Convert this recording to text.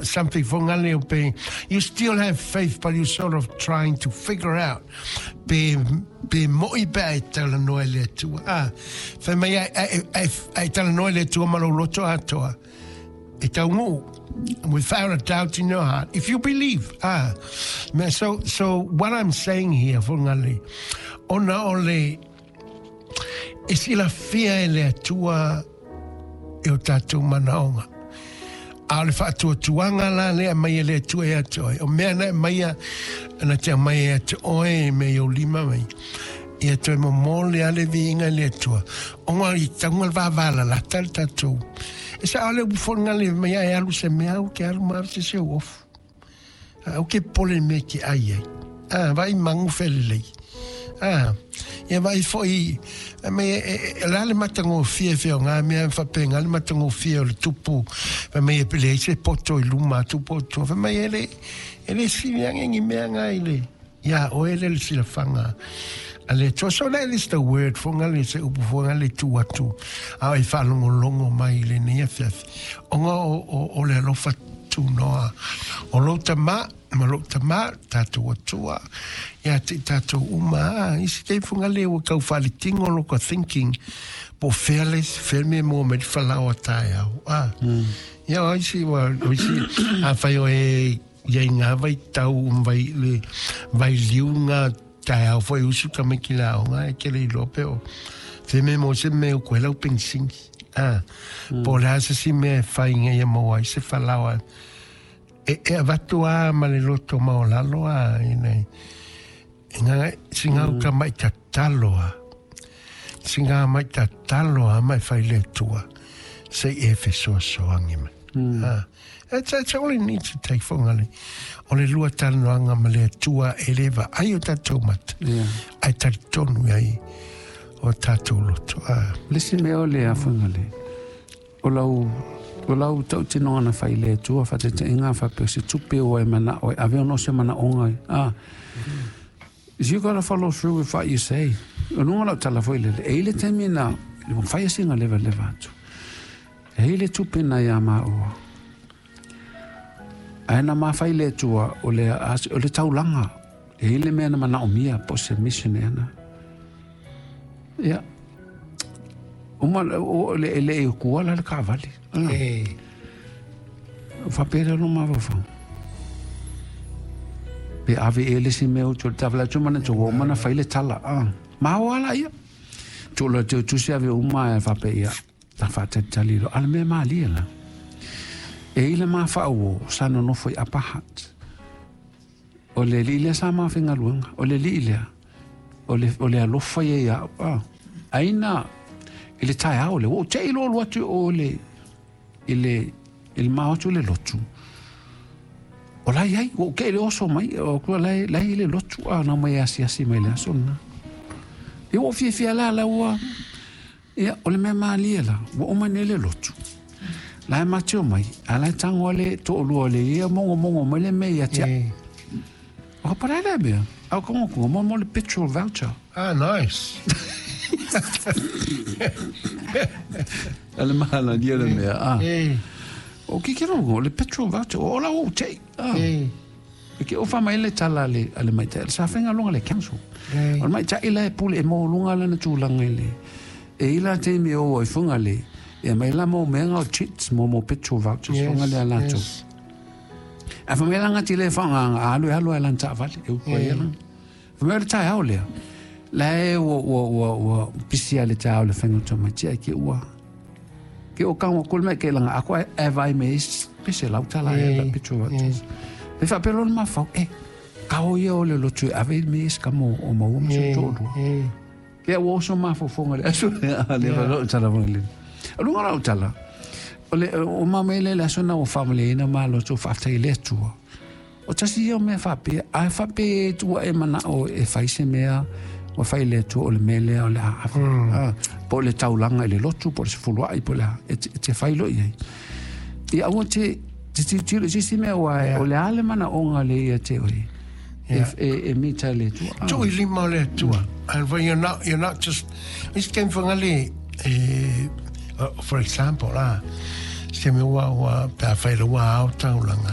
something for ngale o pe you still have faith, but you're sort of trying to figure out pe pe mo'i pe ai talanoa i le Atua. Ah, fai mai ai, ai, ai, ai talanoa i le Atua ma lou loto atoa. E taunuu, without a doubt in your heart, if you believe. Ah, so what I'm saying here, for ngale, ona o le, e silafia e le Atua e o tātou manaoga. A o le faatuatuaga la lea mai e le Atua ia te oe. O mea na e maia, na te aumai ia te oe me i ou lima mai. Ia toe momō le ale viiga i le Atua. Ona i tauga le vavalalata le tatou. E sao le upu foi le mai ai alu se mea au ke alu ma alu se se ofu. Au ke pole me ke ai ai. Ah, vai mangu felelei. Ah, ia vai foi me e la le matagofie fea o ngā mea whapenga le matagofie o le tupu fa mai e pele se poto i luma tupu o tua fa mai e le sili ange ngi mea ngā i le ia o e le le silafanga a le Atua. So that is the word fo ngā le se upu fo ngā le tu atu a e whaalongolongo mai i le nei afiafi. O ngā o le alofa tūnoa o lou tama ma lou tama tātou atua ia te tātou uma a isi te funga le ua kau whalitingo loko thinking po fearless ferme mo me whalawa tae au a ia o isi wa o isi a whai o e ia i ngā vai tau vai le vai liunga tae au foi usu ka me ki la o ngā e kele i lope o fe me mo se me o koe lau pensingi a po le asa si me whai ngai ia mo ai se whalawa e avatu a ma le loto ma o lalo a i nei e ngā si ngā uka mai tatalo a si ngā mai tatalo a mai whai le tua se e fesoasoangi mai. Ah, it's all you need to take for ngale. O le lua talanoaga ma le Atua e le vaai o tatou mata. Ai talitonu ai o tatou loto. Ah. Le si mea o le afuga le. O lau tautinoga na fai le Atua faataitaiga faapea se tupe ua e manao e ave ona o se manaoga. Ah. You gotta follow through with what you say. O luga lau tala foi lele. E i le taimi na, le mawhai asinga leva leva atu. E i le tupe na ia maua. Ae na mafai le Atua o le taulaga. E i le mea na manaomia po se mission e ana. Ia. Uma o le e le e kuala le kavali. E Whapere no mawawhau. Pe ave e le si mea o tō tawala tō mana tō mana whai le tala. Ah. Maho ala ia. Tō la te tusi ave uma e whape ia. Ta whātali lo. Ala mea maalia la. E ila maa whaau sa nonofo i Upper Hutt. O le li lea sa mawhengaluanga. O le li lea. O le alofa ia ia. Ah. Aina i le tae ao le. O te ilo olu atu o le i le maotu le lotu. O lai ai, o ke le oso mai, o kua lai, lai le lotu a na mai asi asi mai le aso na. E o fia fia la la ua, ia, o le mea maalia la, ua oma ne le lotu. La e mateo mai, a lai tango le to lua le ia mongo mongo mai le mea ia tia. O ka parai le mea, au kongo kongo, mo mo le petrol voucher. Ah, nice. Ale mahala dia le mea, ah. O ki kero le petrol voucher, o la o te. Ah. E ke ofa mai le tala le ale mai te sa whenga longa le council. O mai ta ila e pule e mo lunga le na tūlanga i le. E ila te mi o e funga le. E mai la mo menga o chits mo mo petrol vouchers funga le ala tu. A fa mai langa ti le whanga alu alu e lan ta vale e uko e lan. Fa mai le tai au lea. La e ua ua ua ua pisi ale ta au le whenga tō mai tia ke ua. Ke o kango kul me ke langa ako e vai me is pese lau tala e la petrol vouchers. Me wha pelo ma fau e ka o ia o le lotu e ave me is ka mo o maua ma se tō lua. Ke o oso ma fofonga le aso le le lo tala mo le. Lunga lau tala. O le o ma me le aso na o family ina ma lo to fa le tua. O tasi ia o mea whape, a whape tua e mana o e whai se mea, o whai le tua o le mele o le a ah, po le taulanga i le lotu, po le sefuluai, po le a, e te whai lo i ai. I aua te, te te te te si mea ua e, o le ale mana onga le ia te oi. E mita le tua. Ah. Tuu i lima o le Atua. And when you're not just, it's game for ngale, for example, ah, se me ua, ua, pe a whai ua au taulanga.